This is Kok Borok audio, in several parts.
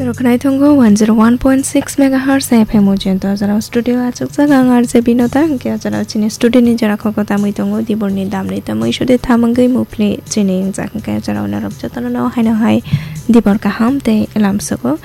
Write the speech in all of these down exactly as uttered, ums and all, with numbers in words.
Khwnai tongo one zero one point six megahertz F M o jento, o jora studio achukjak ang R J Binota, hwnkhe o jora chini studio ni jora khoroksa tamwi tongo, diborni damni tamwi sode thamangwi mupli chini wngjak, hwnkhe o jora norok jotono no haino hai dibor kaham tei lamsogo.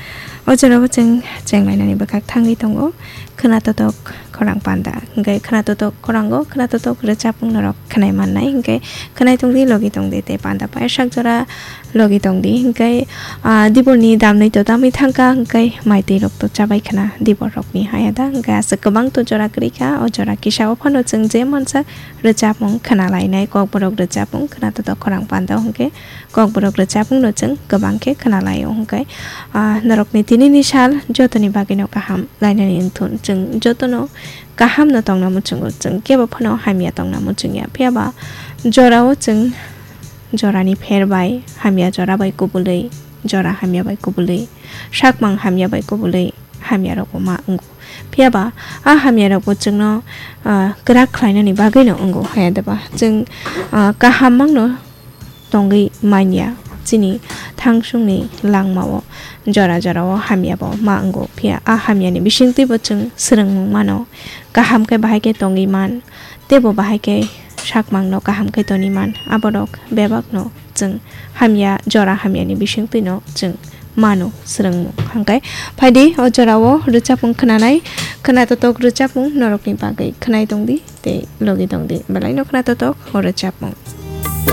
O jora o chwng chenglainani bwkhak thangwi tongo, khwnatotok khorang panda, hwnkhe khwnatotok khorango khwnatotok rwchapmung norok khwnai mannai, hwnkhe khwnai tongdi, logi tongdi tei panda pairsak jora logi tongdi, hwnkhe, ah, diborni damnwi to tamwi thangkha, hwnkhe maitwi rok to chabai khna dibor rokni haya da, hwnkhe aswk kwbang to jora kwrwi kha, o jora kisa o phano chwng je mansa rwchapmung khna lainai, kokborok rwchapmung khwnatotok khorang panda, hwnkhe kokborok rwchapmung no chwng kwbang khe khna laio, hwnkhe, ah, norokni tinini sal jotoni bagwi no kaham lainani wngthun, chwng jotono kaham no tongna muchungo, chwng kebo phano hamya tongna muchungya, phiya ba jorao chwng jorani pher bai, hamya jora bai kubulwi, jora hamya bai kubulwi, sakmang hamya bai kubulwi, hamya rokbo ma wngo. Phiya ba a hamya rokbo chwngno, ah, kwrak khlainani bagwi no wngo, haya da ba chwng, ah, kaham mangno tongwi manya. Chini thangsungni langmao jora jorao hamyabo ma wngo, phiya a hamyani bisingtwibo chwng swrwngmung mano, kaham khe bahai khe tongwi man, teibo bahai khe sakmangno kaham khe toni man, aborok bebakno chwng hamya, jora hamyani bisingtwino chwng mano swrwngmung. Hwnkhe phaidi o jorao rwchapmung khwnanai, khwnatotok rwchapmung norokni bagwi khwnai tongdi tei logi tongdi, belaino khwnatotok o rwchapmung.